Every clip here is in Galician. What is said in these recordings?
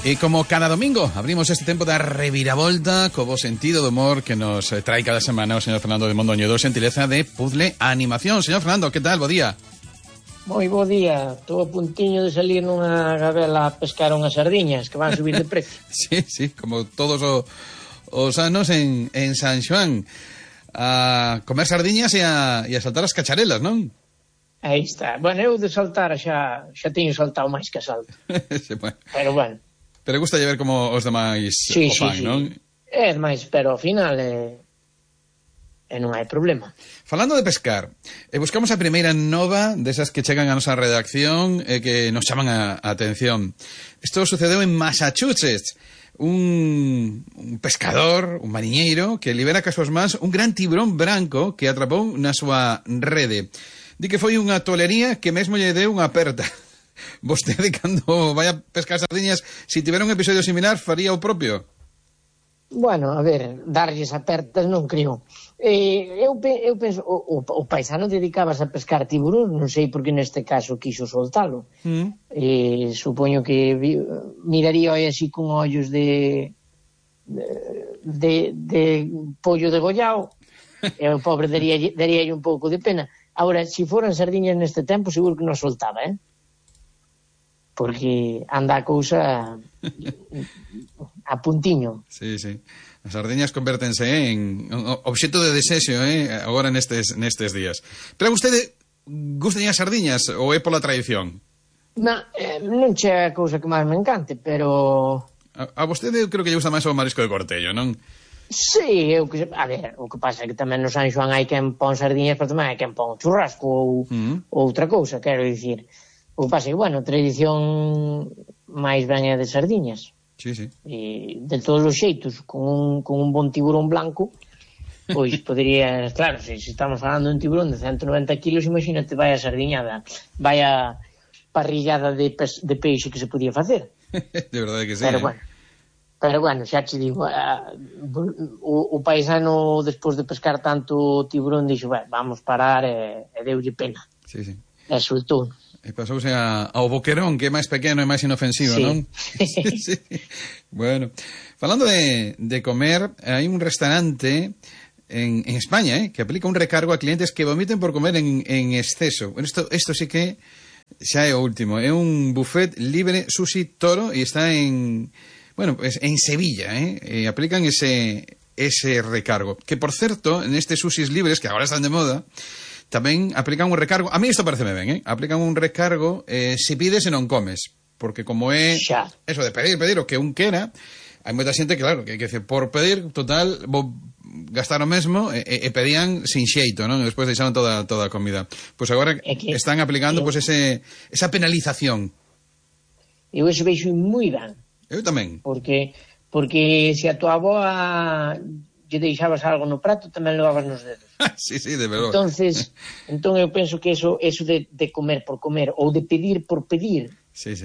E como cada domingo abrimos este tempo da reviravolta co bo sentido do humor que nos trae cada semana o señor Fernando de Mondoñedo, xentileza de Puzzle Animación. Señor Fernando, que tal? Bo día. Moi bo día. Estou a puntiño de salir nunha gabela a pescar unhas sardiñas que van subir de precio. Sí, como todos os anos en San Xoán, a comer sardiñas e a saltar as cacharelas, non? Aí está. Bueno, eu de saltar xa teño saltado máis que salto. Sí, bueno. Pero bueno. Pero gusta ver como os demais o fan, non? É máis, pero ao final non hai problema. Falando de pescar, buscamos a primeira nova desas que chegan a nosa redacción e que nos chaman a atención. Isto sucedeu en Massachusetts. Un pescador, un mariñeiro, que libera cas súas mans un gran tiburón branco que atrapou na súa rede. Di que foi unha tolería que mesmo lle deu unha aperta. Vostede, cando vai a pescar sardiñas, se tivera un episodio similar, faría o propio? Bueno, a ver, darlles apertas non creo. Eu penso, o paisano dedicabas a pescar tiburón, non sei por que neste caso quiso soltalo. Supoño que miraría así con ollos de pollo degollado, e o pobre daría un pouco de pena. Agora, se foran sardiñas neste tempo, seguro que non soltaba, porque anda a cousa a puntiño. Sí. As sardiñas convértense en obxecto de desexo, agora nestes días. Pero a vostede gustan as sardiñas ou é pola tradición? Non che a cousa que máis me encante, pero... A vostede eu creo que lle gusta máis o marisco de cortello, non? Sí, a ver, o que pasa é que tamén no San Xoán hai quen pon sardiñas, pero tamén hai quen pon churrasco ou outra cousa, quero dicir. O que pasa é que, bueno, a tradición máis ben é de sardiñas. Sí. E de todos os xeitos, con un bon tiburón blanco, pois podería, claro, se estamos falando de un tiburón de 190 kilos, imagínate, vai a sardiñada, vai a parrillada de peixe que se podía facer. De verdade que sí. Pero bueno, xa te digo, o paisano, despois de pescar tanto tiburón, dixo, vamos parar, e deulle pena. Sí. E soltou. E pasouse ao boquerón, que é máis pequeno e máis inofensivo, non? Sí. Bueno, falando de comer, hai un restaurante en España, que aplica un recargo a clientes que vomiten por comer en exceso. Bueno, isto sí que xa é o último. É un buffet libre sushi toro e está en Sevilla, e aplican ese recargo. Que, por certo, en estes sushis libres, que agora están de moda, tamén aplican un recargo. A mí isto pareceme ben, aplican un recargo se pides e non comes, porque como é eso de pedir o que un quera, hai moita xente que, claro, que por pedir, total, vou gastar o mesmo, e pedían sin xeito, non? E despois deixaban toda a comida. Pois agora están aplicando esa penalización. Eu iso veixo moi ben. Eu tamén. Porque se a tua avoa lle deixabas algo no prato, tamén levabas nos dedos. Sí, de verdade. Entón eu penso que eso de comer por comer, ou de pedir por pedir,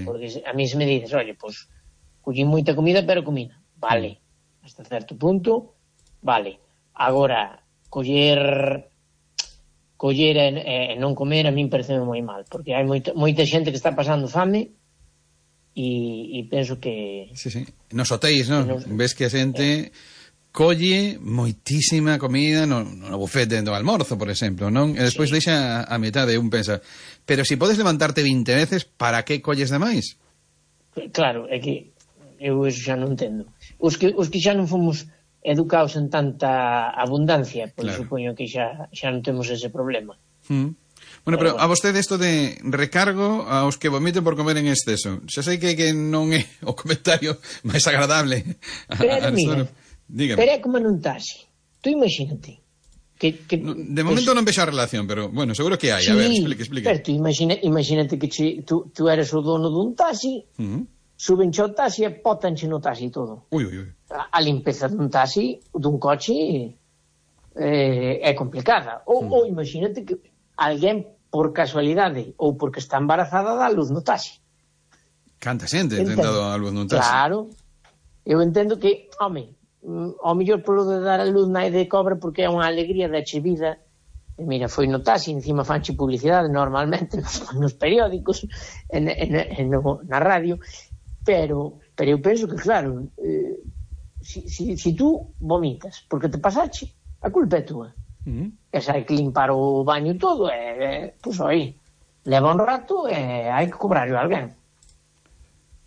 porque a mí se me dices, oye, pues collín moita comida, pero comida, vale, hasta certo punto, vale. Agora, coller e non comer, a min parece moi mal, porque hai moita xente que está pasando fame, e penso que... Sí. Nos hotéis, non? Ves que a xente colle moitísima comida no buffet do almorzo, por exemplo, non? E despois deixa a metade, un pensa, pero se podes levantarte 20 veces, para que colles demais? Claro, é que eu eso xa non entendo. Os que xa non fomos educados en tanta abundancia, pois supoño que xa non temos ese problema. Bueno, pero a vostede isto de recargo aos que vomiten por comer en exceso, xa sei que non é o comentario máis agradable. Pero mira, pero é como non taxe. Tú imagínate de momento non vexo a relación, pero bueno, seguro que hai. A ver, explique. Pero tú imagínate que tú eres o dono dun taxi, subenche o taxi e pótanche no taxi todo. Ui. A limpeza dun taxi, dun coche, é complicada. Ou imagínate que alguén, por casualidade ou porque está embarazada, dá luz no taxi. Canta xente ten dado a luz no taxi. Claro. Eu entendo que, ao mellor polo de dar a luz na de cobra, porque é unha alegría da che vida. E mira, foi no taxi, encima fanche publicidade normalmente nos periódicos, na radio, pero eu penso que, claro, si tú vomitas porque te pasache, a culpa é túa. E se hai que limpar o baño todo, pois aí leva un rato e hai que cobrarlo a alguén.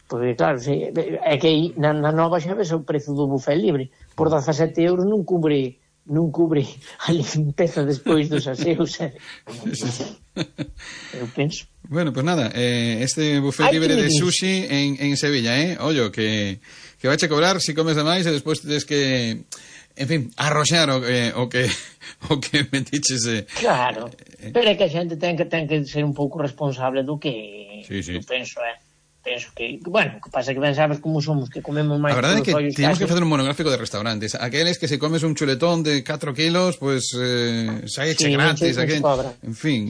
Porque claro, é que aí na nova xa ves o prezo do buffet libre, por 17 euros non cubre a limpeza despois dos aseos. Eu penso. Bueno, pues nada, este buffet libre de sushi en Sevilla, ollo, que vais a cobrar si comes de máis e despois tedes que, en fin, arroxar o que metiches. Claro, pero é que a xente ten que ser un pouco responsable do que eu penso, penso que, bueno, que pasa que ben sabes como somos, que comemos máis. A verdade é que temos que facer un monográfico de restaurantes. Aqueles que se comes un chuletón de 4 kilos, pues saeche gratis, en fin,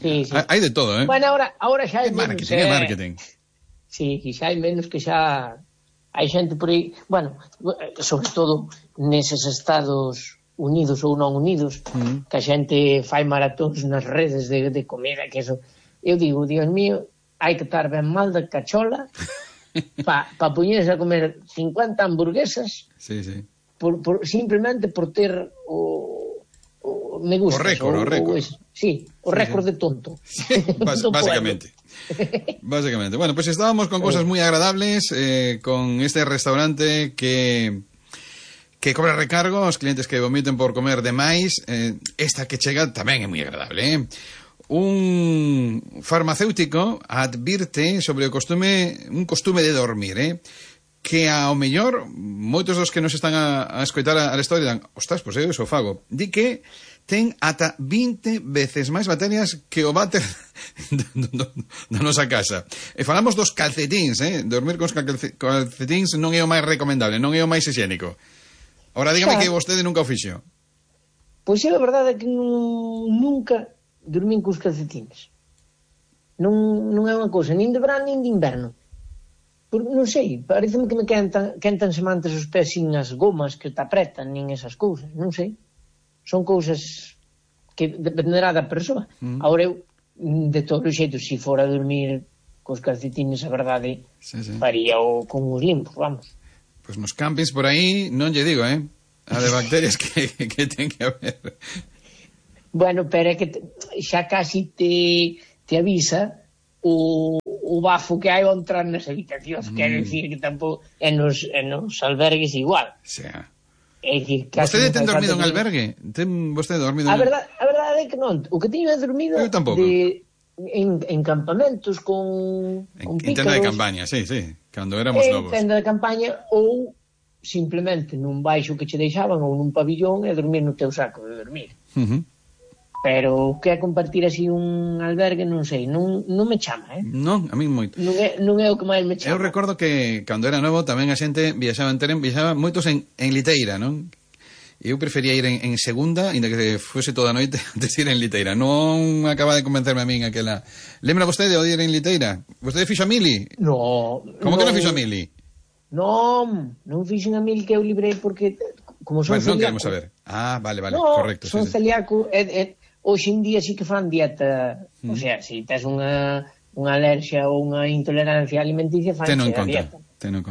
hai de todo, Bueno, ahora xa hai menos. Marketing. Sí, xa hai menos, que xa hai xente por aí, bueno, sobre todo neses Estados Unidos ou non unidos, que a xente fai maratóns nas redes de comida, que eso, eu digo, Dios mío, hai que estar ben mal de cachola pa poñerse a comer 50 hamburguesas simplemente por ter o me gusta. O récord. Sí, o récord de tonto. Básicamente. Básicamente. Bueno, pues estábamos con cosas muy agradables, con este restaurante que cobra recargo aos clientes que vomiten por comer de máis. Esta que chega tamén é moi agradable, Un farmacéutico advirte sobre un costume de dormir, que ao mellor moitos dos que nos están a escoitar a historia dan, ostras, pois eu iso fago. Di que ten ata 20 veces máis bacterias que o váter da nosa casa. E falamos dos calcetíns, dormir con os calcetíns non é o máis recomendable, non é o máis higiénico. Ora, dígame que vostede nunca o fixo. Pois é, a verdade é que nunca dormín cos calcetines. Non é unha cousa nin de verán nin de inverno. Non sei, pareceme que me quentan semantes os pés sin as gomas que te apretan, nin esas cousas, non sei. Son cousas que dependerá da persoa. Agora eu, de todos os xeitos, se fora a dormir cos calcetines, a verdade, faría con os limpos, vamos. Pois nos campings por aí non lle digo, a de bacterias que ten que haber. Bueno, pero é que xa casi te avisa o bafo que hai ao entrar nas habitacións, quero dicir que tampouco en nos albergues igual. Xa. Vostede ten dormido en albergue? Ten vostede dormido en... A verdade é que non. O que teño é dormido en campamentos con pícaros. En tenda de campaña, sí, cando éramos novos. En tenda de campaña ou simplemente nun baixo que che deixaban ou nun pabillón e dormir no teu saco de dormir. Pero o que é compartir así un albergue, non sei, non me chama, Non, a mí moito. Non é o que máis me chama. Eu recordo que cando era novo tamén a xente viaxaba moitos en liteira, non? Eu prefería ir en segunda, ainda que fose toda a noite, antes de ir en liteira. Non acaba de convencerme a min aquela... Lembra vostede de ir en liteira? Vostede fixo a mili? No. Como que non fixo a mili? Non fixen a mili, que eu librei porque... Como son celíaco... Non queremos saber. Vale, correcto. Son celíaco... Hoxe en día sí que fan dieta, o sea, se tes unha alerxia ou unha intolerancia alimenticia, fan a dieta.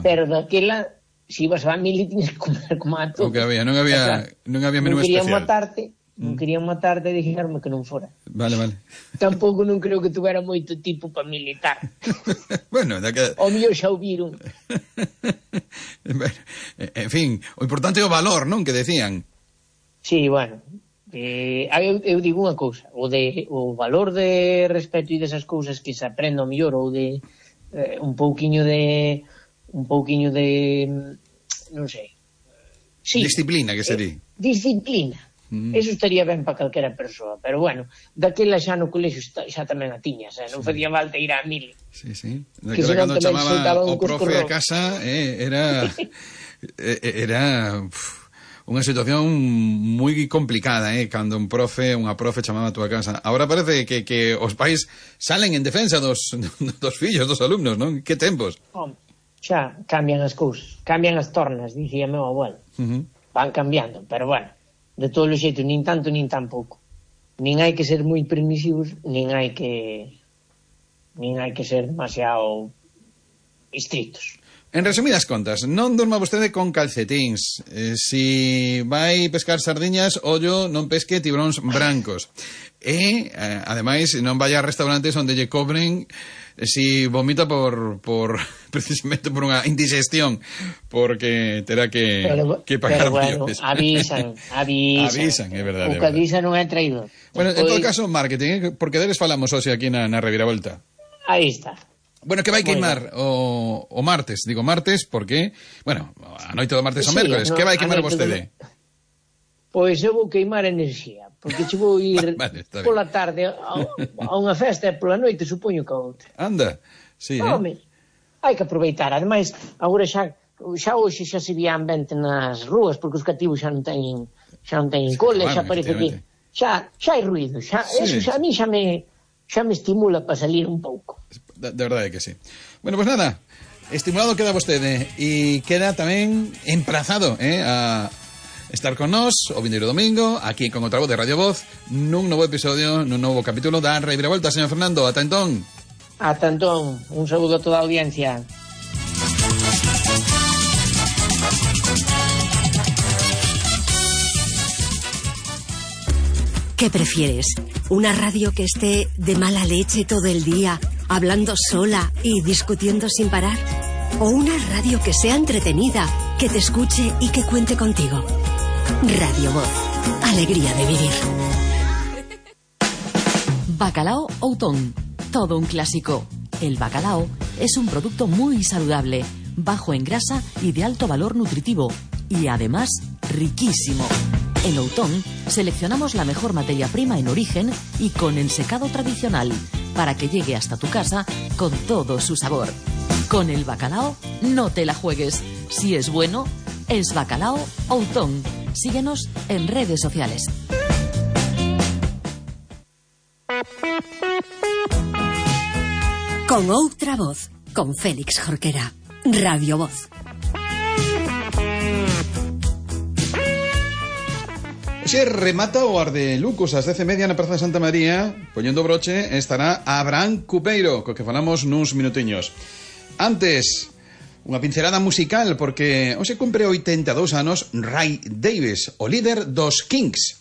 Pero daquela, se ibas a mili, tienes que comer como a todo. O que había, non había menú especial. Non querían matarte e dixeronme que non fora. Vale. Tampouco non creo que tuvera moito tipo para militar. Bueno, o mellor xa o viron. En fin, o importante é o valor, non? Que decían. Sí, bueno... eu digo unha cousa, o valor de respeto e desas cousas que se aprende ao mellor, ou de un pouquiño de non sei, disciplina, que se di. Disciplina, eso estaría ben para calquera persoa, pero bueno, daquela xa no colexo xa tamén a tiñas, non facía falta ir á mili. Sí, daquela cando chamaba o profe a casa era unha situación moi complicada, cando unha profe chamaba a túa casa. Agora parece que os pais salen en defensa dos fillos, dos alumnos, non? Que tempos? Xa cambian as cousas, cambian as tornas, dicía meu abuelo. Van cambiando, pero bueno, de todos os xeitos, nin tanto nin tampouco. Nin hai que ser moi permisivos, nin hai que ser demasiado estrictos. En resumidas contas, non durma vostede con calcetíns. Si vai pescar sardiñas, ollo, non pesque tibróns brancos. E, ademais, non vai a restaurantes onde lle cobren si vomita precisamente por unha indigestión, porque terá que pagar bueno, avisan, é verdade. O que avisan non é traído. Bueno, en todo caso, marketing, porque deles falamos hoxe aquí na Reviravolta. Aí está. Bueno, que vai queimar o martes, digo martes porque, bueno, a noite do martes ou mércoles, que vai queimar vostede? Pois eu vou queimar enerxía, porque che vou ir pola tarde a unha festa e pola noite supoño que a outra. Anda, sí, Home, hai que aproveitar, ademais, agora xa hoxe xa se vía ambiente nas rúas, porque os cativos xa non teñen cole, xa parece que xa hai ruido, eso xa a mí xa me estimula para salir un pouco. De verdade que sí. Bueno, pues nada, estimulado queda vostede e queda tamén emprazado a estar con nós o vindeiro domingo aquí con outra voz de Radio Voz nun novo episodio, nun novo capítulo da Reviravolta, señor Fernando. Ata entón. Ata entón, un saúdo a toda a audiencia. ¿Qué prefieres? ¿Una radio que esté de mala leche todo el día, hablando sola y discutiendo sin parar? ¿O una radio que sea entretenida, que te escuche y que cuente contigo? Radio Voz. Alegría de vivir. Bacalao Outón. Todo un clásico. El bacalao es un producto muy saludable, bajo en grasa y de alto valor nutritivo. Y además, riquísimo. En Outón seleccionamos la mejor materia prima en origen y con ensecado tradicional para que llegue hasta tu casa con todo su sabor. Con el bacalao no te la juegues. Si es bueno, es Bacalao Outón. Síguenos en redes sociales. Con outra voz, con Félix Jorquera. Radio Voz. Se remata o Ardelucos ás 10:30 na Praza de Santa María. Poñendo broche estará Abraham Cupeiro, co que falamos nuns minutiños. Antes, unha pincelada musical, porque hoxe cumpre 82 anos Ray Davies, o líder dos Kings.